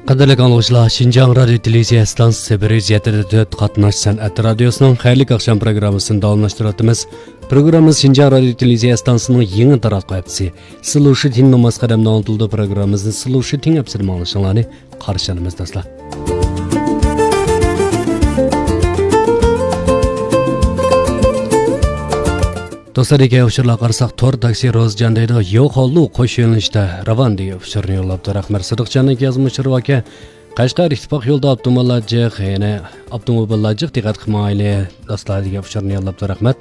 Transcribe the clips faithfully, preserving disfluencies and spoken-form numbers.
قەدىرلىك ئاڭلىغۇچىلار، شىنجاڭ رادىيو تېلېۋىزىيە ئىستانسىسى بىر يۈز يەتتە دە تۆت قاتناش سەنئەت رادىيوسىنىڭ خەيرلىك ئاخشام پروگراممىسىنى داۋاملاشتۇرۇۋاتىمىز. پروگراممىمىز شىنجاڭ رادىيو تېلېۋىزىيە ئىستانسىسىنىڭ يېڭى تاراتقۇ ھەپتىسى، سىلۇشىتىن نوماس قەدەمدە ئاڭلىتىلىدۇ. پروگراممىمىزنى سىلۇشىتىن ھەپتىسىدە ئاڭلىشىڭلارنى قارشى ئالىمىز، دوستلار. دوستلار، دېگەن ئۇچۇرلارغا قارىساق، تور تاكسى روزجان دەيدۇ، يوخوللۇ قوش يۆنىلىشتە راۋان دېگەن ئۇچۇرنى يوللاپتۇ. رەھمەت، سىدىقجاننىڭ يازما ئۇچۇرى باركەن. قەشقەر ئىتتىپاق يولىدا ئاپتوموبىللار جىق، يەنى ئاپتوموبىللار جىق، دىققەت قىلمايلى، دوستلار، دېگەن ئۇچۇرنى يوللاپتۇ. رەھمەت.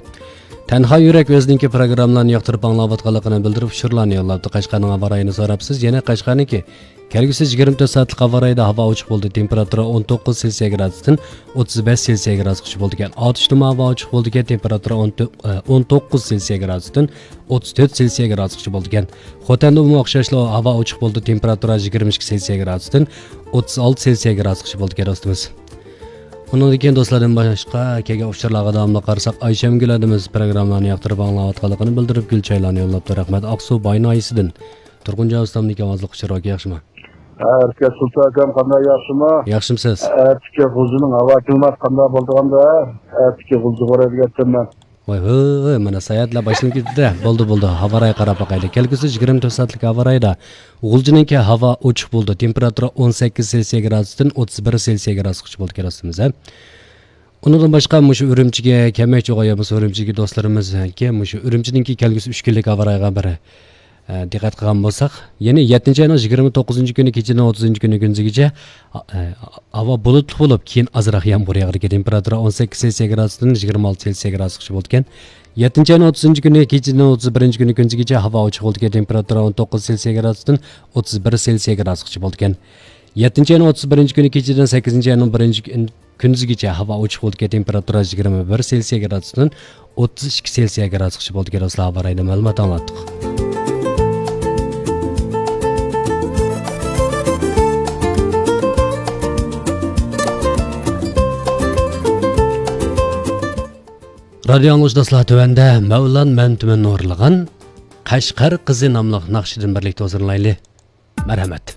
تەنھا يۈرەك ئۆزىنىڭكى پروگراممىلارنى ياقتۇرۇپ ئاڭلاۋاتقانلىقىنى بىلدۈرۈپ ئۇچۇرلارنى يوللاپتۇ. قەشقەرنىڭ ھاۋا رايىنى سوراپسىز، يەنە قەشقەرنىڭكى كەلگۈسى يىگىرمە تۆت سائەتلىك ھاۋا رايىدا ھاۋا ئوچۇق بولىدۇ، تېمپېراتۇرا ئون توققۇز سېلسىيە گرادۇستىن ئوتتۇز بەش سېلسىيە گرادۇسقىچە بولىدىكەن. ئاتۇشتىمۇ ھاۋا ئوچۇق بولىدىكەن، تېمپېراتۇرا ئون تۆت، ئون توققۇز سېلسىيە گرادۇستىن ئوتتۇز تۆت سېلسىيە گرادۇسقىچە بولىدىكەن. خوتەندىمۇ ئوخشاشلا ھاۋا ئوچۇق بولىدۇ، تېمپېراتۇرا يىگىرمە ئىككى سېلسىيە گرادۇستىن ئوتتۇز ئالتە سېلسىيە گرادۇسقىچە بولىدىكەن، دوستىمىز. ئۇنىڭدىن كېيىن دوستلاردىن باشقا كەلگەن ئۇچۇرلارغا داۋاملىق قارىساق، ئايشەمگۈل ھەدىمىز پروگراممىلارنى ياقتۇرۇپ ئاڭلاۋاتقانلىقىنى بىلدۈرۈپ، گۈل چايلارنى يوللاپتۇ. رەھمەت. ئاقسۇ باي ناھىيەسىدىن تۇرغۇنجان ئۇستامدىن كېلىۋاتقان ئۇچۇر بار، ياخشىمۇ؟ ھە، ئەركە سۇلتان ئاكام، قانداق، ياخشىمۇ؟ ياخشىمۇسىز؟ ئەتىكى غۇلجىنىڭ ھاۋا كىلىماتى قانداق بولىدىغاندا، ئەتىكى غۇلجىغا باراي دېگەنتىم مەن. ۋاي ھۆي، مانا ساياھەتلەر باشلىنىپ كېتىپتۇ. بولدى، بولدى، ھاۋا رايىغا قاراپ باقايلى. كەلگۈسى يىگىرمە تۆت سائەتلىك ھاۋا رايىدا غۇلجىنىڭكى ھاۋا ئوچۇق بولىدۇ، تېمپېراتۇرا ئون سەككىز سېلسىيە گرادۇستىن ئوتتۇز بىر سېلسىيە گرادۇسقىچە بولىدىكەن، دوستىمىز، ھە. ئۇنىڭدىن باشقا مۇشۇ ئۈرۈمچىگە كەلمەكچى بولغان يا بولمىسا ئۈرۈمچىدىكى دوستلىرىمىزكى مۇشۇ ئۈرۈمچىنىڭكى كەلگۈسى ئۈچ كۈنلۈك ھاۋا رايىغا بىر، ئە، دىققەت قىلغان بولساق، يەنى يەتتىنچى ئاينىڭ يىگىرمە توققۇزىنچى كۈنى كېچىدىن ئوتتۇزىنچى كۈنى كۈندۈزگىچە، ئە، ھاۋا بۇلۇتلۇق بولۇپ، كېيىن ئازراق يامغۇر ياغىدىكەن. تېمپېراتۇرا ئون سەككىز سېلسىيە گرادۇستىن يىگىرمە ئالتە سېلسىيە گرادۇسقىچە بولىدىكەن. يەتتىنچى ئاينىڭ ئوتتۇزىنچى كۈنى كېچىدىن ئوتتۇز بىرىنچى كۈنى كۈندۈزگىچە ھاۋا ئوچۇق بولىدىكەن. تېمپېراتۇرا ئون توققۇز سېلسىيە گرادۇستىن ئوتتۇز بىر سېلسىيە گرادۇسقىچە بولىدىكەن. يەتتىنچى ئاينىڭ ئوتتۇز بىرىنچى كۈنى كېچىدىن سەككىزىنچى ئاينىڭ بىرىنچى كۈن-، كۈندۈزگىچە ھاۋا ئوچۇق بولىدىكەن، تېمپېراتۇرا يىگىرمە بىر سېلسىيە گرادۇستىن ئوتتۇز ئىككى سېلسىيە گرادۇسقىچە بولىدىكەن، دوستلار، ھاۋا رايىدا مەلۇمات ئاڭلاتتۇق. رادىيو ئاڭلىغۇچى دوستلار، تۆۋەندە مەۋلان مەمتىمىن ئورۇنلىغان قەشقەر قىزى ناملىق ناخشىدىن بىرلىكتە ھۇزۇرلىنايلى. مەرھەمەت.